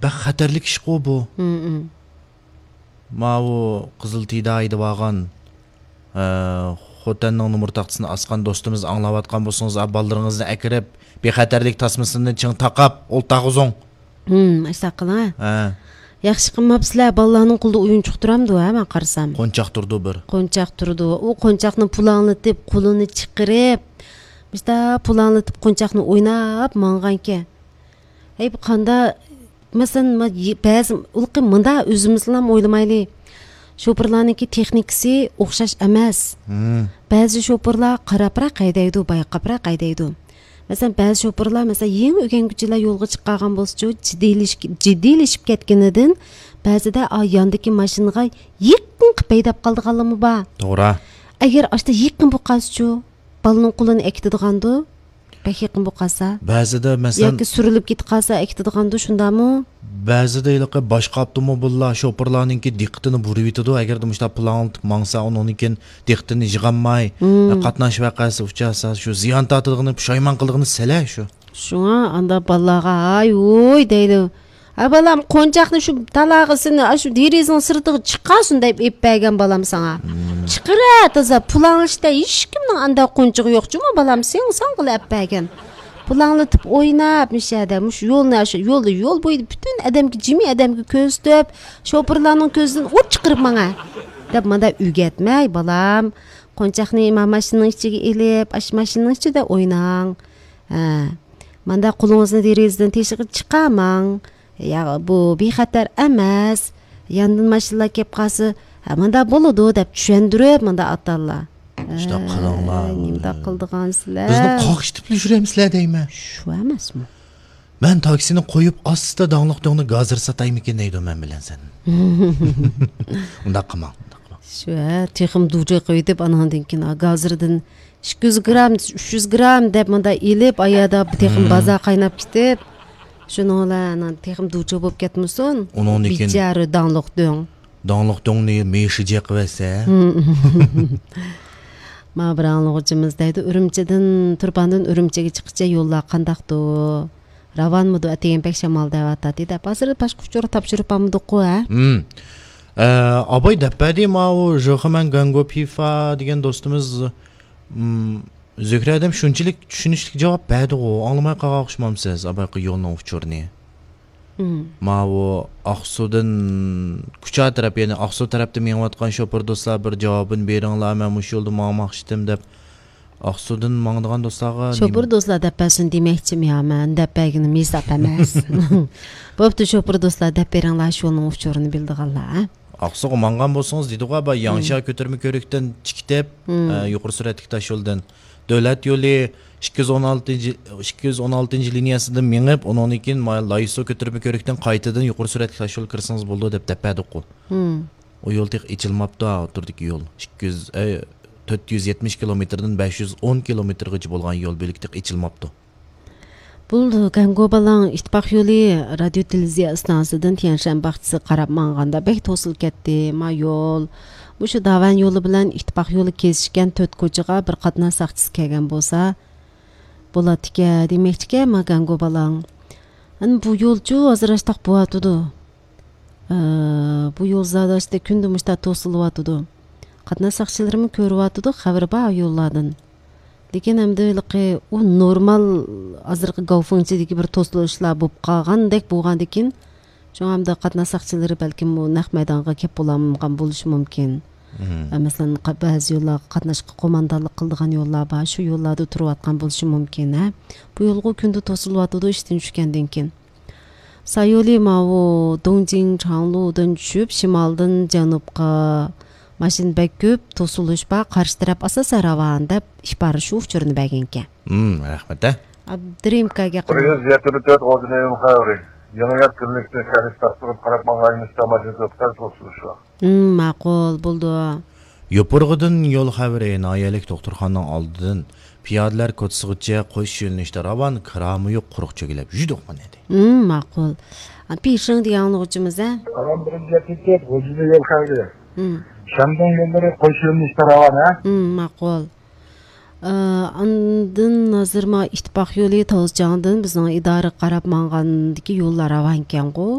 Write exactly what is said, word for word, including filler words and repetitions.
بەك خەتەرلىك ئىشقۇ بۇ. ماۋۇ قىزىل تىدا ھەيدىۋالغان، ئە، خوتەننىڭ نومۇر تاختىسىنى ئاسقان دوستىمىز ئاڭلاۋاتقان بولسىڭىز، ئا، بالىلىرىڭىزنى ئەكىرىپ، بىخەتەرلىك تاسمىسىنى چىڭ تاقاپ، ئولتۇرغۇزۇڭ. ھىم، ئاشۇنداق قىلىڭ، ھە. ھە. ياخشى قىلماپسىلەر، بالىلارنىڭ قولىدا ئويۇنچۇق تۇرامدۇ، ھە، مەن قارىسام. قونچاق تۇرىدۇ بىر. قونچاق تۇرىدۇ. ئۇ قونچاقنى پۇلاڭلىتىپ، قولىنى چىقىرىپ، مۇشتا پۇلاڭلىتىپ قونچاقنى ئويناپ ماڭغانكەن. ھەي، بۇ قاندا، مەسىلەن، ما-، يى-، بەزى، ئۇلىقى مۇندا ئۆزىمىزنىلا ئويلىمايلى. شوپۇرلارنىڭكى تېخنىكىسى ئوخشاش ئەمەس. مم. بەزى شوپۇرلار قاراپراق ھەيدەيدۇ، بايقاپراق ھەيدەيدۇ. مەسىلەن، بەزى شوپۇرلار، مەسىلەن، يېڭى ئۆگەنگۈچىلەر يولغا چىققان بولسىچۇ، جىددىيلىشىپ، جىددىيلىشىپ كەتكىنىدىن بەزىدە، ئا، ياندىكى ماشىنىغا يېقىن قىلىپ ھەيدەپ قالىدىغانلىرىمۇ بار. توغرا. ئەگەر ئاشتا يېقىن بولۇپ قالسىچۇ، بالىنىڭ قولىنى ئەكېتىدىغاندۇ. بەك يېقىن بولۇپ قالسا. بەزىدە، مەسىلەن، ياكى سۈرۈلۈپ كېتىپ قالسا، ئەكېتىدىغاندۇ، شۇنداقمۇ؟ بەزىدە ھېلىقى باشقا ئاپتوموبىللار شوپۇرلارنىڭكى دىققىتىنى بۇرىۋېتىدۇ. ئەگەردە مۇشۇنداق پۇلاڭلىتىپ ماڭسا، ئۇنىڭدىن كېيىن دىققىتىنى يىغالماي، مم. قاتناش ۋەقەسى ئۇچرىسا، شۇ زىيان تارتىدىغىنى، پۇشايمان قىلىدىغىنى سەل شۇ. شۇڭا ئاندا بالىلارغا ھاي ھۇي دەيدۇ. ھە بالام، قونچاقنى شۇ تالاغىسىنى، شۇ دېرىزىنىڭ سىرتىغا چىقارسۇن دەپ ئېلىپ بەرگەن بالام ساڭا. مم. چىقىرە تازا، پۇلاڭلىشتا ھېچكىمنىڭ ئاندا قونچىقى يوق جۇمۇ بالام، سېڭ ساڭغىلا ئەپ بەرگەن. پۇلاڭلىتىپ ئويناپ مۇشۇ يەردە، مۇشۇ يولنى، شۇ يولدا، يول بويىدا پۈتۈن ئادەمگە، جىمى ئادەمگە كۆرسىتىپ، شوپۇرلارنىڭ كۆزىدىن ئوت چىقىرىپ ماڭا دەپ مانا ئۆگەتمەي بالام. قونچاقنى ما ماشىنىنىڭ ئىچىگە ئېلىپ، ئاشۇ ماشىنىنىڭ ئىچىدە ئويناڭ. ھە. ماندا قولىڭىزنى دېرىزىدىن تېشىغا چىقارماڭ. يا، بۇ بىخەتەر ئەمەس. ياندىن ماشىنىلار كەپ قالسا، ھە، ماندا بولىدۇ دەپ چۈشەندۈرۈپ، ماندا ئاتاللا. شۇنداق قىلىڭلار. ھە، نېمىنداق قىلىدىغانسىلەر؟ بىزنى قاقشىتىپلا يۈرەمسىلەر دەيمەن. شۇ ئەمەسمۇ؟ مەن تاكسىنى قويۇپ، ئاستا داڭلىق دۆڭنى گازىر ساتايمىكىن دەيدۇ مەن بىلەن سەن. ئۇنداق قىلماڭ، ئۇنداق قىلماڭ. شۇ، ھە، تېخىمۇ دۇچى قويۇۋېتىپ، ئاناندىن كېيىن، ھە، گازىردىن ئىككى يۈز گرام، ئۈچ يۈز گرام دەپ مۇنداق ئېلىپ، ئايادا تېخىمۇ بازار قايناپ كېتىپ، شۇنىڭ بىلەن تېخىمۇ دۇچى بولۇپ كەتمىسۇن. ئۇنىڭدىن كېيىن بىچارە داڭلىق دۆڭ. داڭلىق دۆڭنى مېشى جىقىۋەتسە. ما بىر ئاڭلىغۇچىمىز دەيدۇ، ئۈرۈمچىدىن، تۇرپاندىن ئۈرۈمچىگە چىققىچە يوللار قانداقتۇ؟ راۋانمىدۇ؟ ئەتىگەن بەك شامال دەۋاتاتتى دەپ. ھازىر باشقا ئۇچۇر تاپشۇرۇپ بارمىدۇققۇ، ھە؟ ھىم. ئە، ئاباي دەپ بەردى، ماۋۇ ژېخېمەن گەنگو پىفا دېگەن دوستىمىز، ھىم، زۆھرە ھەدەم شۇنچىلىك چۈشىنىشلىك جاۋاب بەردىغۇ، ئاڭلىماي قالغان ئوخشىمامسىز ئابايقى يولنىڭ ئۇچۇرىنى؟ ماۋۇ ئاقسۇدىن كۇچا تەرەپ، يەنى ئاقسۇ تەرەپتە مېڭىۋاتقان شوپۇر دوستلار بىر جاۋابىنى بېرىڭلار، مەن مۇشۇ يولدا ماڭماقچىدىم دەپ ئاقسۇدىن ماڭىدىغان دوستلارغا شوپۇر دوستلار دەپ بەرسۇن دېمەكچىم يا، مەن دەپ بەرگىنىم ھېساب ئەمەس. بوپتۇ، شوپۇر دوستلار دەپ بېرىڭلار، شۇ يولنىڭ ئۇچۇرىنى بىلىدىغانلار، ھە؟ ئاقسۇغا ماڭغان بولسىڭىز دېدىغۇ، بار ياڭشيا كۆتۈرمە كۆۋرۈكتىن چىقىپ، ئە، يۇقىرى سۈرئەتلىك تاش يولدىن. دۆلەت يولى ئىككى يۈز ئون ئالتىنچى، ئىككى يۈز ئون ئالتىنچى لىنىيەسىدىن مېڭىپ، ئۇنىڭدىن كېيىن مانا لايسۇ كۆتۈرمە كۆۋرۈكتىن قايتىدىن يۇقىرى سۈرئەتلىك تاش يولغا كىرسىڭىز بولىدۇ دەپ دەپ بەردۇققۇ. ئۇ يول تېخى ئېچىلماپتۇ، ئوتتۇرىدىكى يول. ئىككى يۈز، ئەي، تۆت يۈز يەتمىش كىلومېتىردىن بەش يۈز ئون كىلومېتىرغىچە بولغان يول بۆلىكى تېخى ئېچىلماپتۇ. بولدى، گەنگو بالاڭ، ئىتتىپاق يولى رادىيو تېلېۋىزىيە ئىستانسىسىدىن تيەنشەن باغچىسىغا قاراپ ماڭغاندا بەك توسۇلۇپ كەتتى. ما يول، مۇشۇ داۋەن يولى بىلەن ئىتتىپاق يولى كېسىشكەن تۆت كوچىغا بىر قاتناش ساقچىسى كەلگەن بولسا بولاتتىكەن دېمەكچىكەن، ما گەنگو بالاڭ. ئەنە بۇ يولچۇ ھازىر ئاشتاق بوۋاتىدۇ. ئە، بۇ يول زادى ئاشتا كۈندە مۇشتا توسۇلۇۋاتىدۇ. قاتناش ساقچىلىرىمۇ كۆرۈۋاتىدۇ، خەۋىرى بار يوللاردىن. لېكىن ئەمدى ھېلىقى ئۇ نورمال ھازىرقى گاۋفېڭچىدىكى بىر توسۇلۇشلار بولۇپ قالغاندەك بولغاندىكىن، شۇڭا ئەمدى قاتناش ساقچىلىرى بەلكىم ئۇ نەق مەيدانغا كەپ بولالمىغان بولۇشى مۇمكىن. مم. ئە، مەسىلەن، قا-، بەزى يوللارغا قاتناشقا قوماندانلىق قىلىدىغان يوللار بار، شۇ يوللاردا تۇرۇۋاتقان بولۇشى مۇمكىن، ھە. بۇ يولغۇ كۈندە توسۇلۇۋاتىدۇ ئىشتىن چۈشكەندىن كېيىن. سايولى ماۋۇ دۇڭجىڭ چاڭلۇدىن چۈشۈپ، شىمالدىن جەنۇبقا ماشىنا بەك كۆپ، توسۇلۇش بار، قارشى تەرەپ ئاساسەن راۋان، دەپ ئىپارە شۇ ئۇچۇرنى بەرگەنىكەن. ھىم، رەھمەت، ھە. ئابدۇرېھىم ئاكاگە قىلىمىز. بىر يۈز يەتتە تۆت غوجىنىڭ خەۋىرى. يېڭى يەر كىلىنىكىسىنىڭ شەھەر ئىستانسىسىغا قاراپ ماڭغان يۈنۈستە ماشىنا توختاش توسۇلۇشى بار. ھىم، ماقۇل، بولىدۇ. يوپۇرغىدىن يول خەۋىرى، ناھىيەلىك دوختۇرخانىنىڭ ئالدىدىن پىيادىلەر كوچىسىغىچە قوش يۆنىلىشتە راۋان، كىرامۇيۇق قۇرۇق چۆگىلەپ يۈدۇق مانا دەيدۇ. ھىم، ماقۇل. پىشىڭ دېگەن ئاڭلىغۇچىمىز، ھە؟ سالام، بىرىنچى يەتتە تۆت غوجىنى يول خەۋىرى. ھىم. شەندۇڭ يوللىرى قوش يۆنىلىشتە راۋان، ھە؟ ھىم، ماقۇل. ئە، ئاندىن ھازىر ما ئىتتىپاق يولى تاۋزچاڭدىن بىزنىڭ ئىدارىگە قاراپ ماڭغاندىكى يوللار راۋانكەنغۇ؟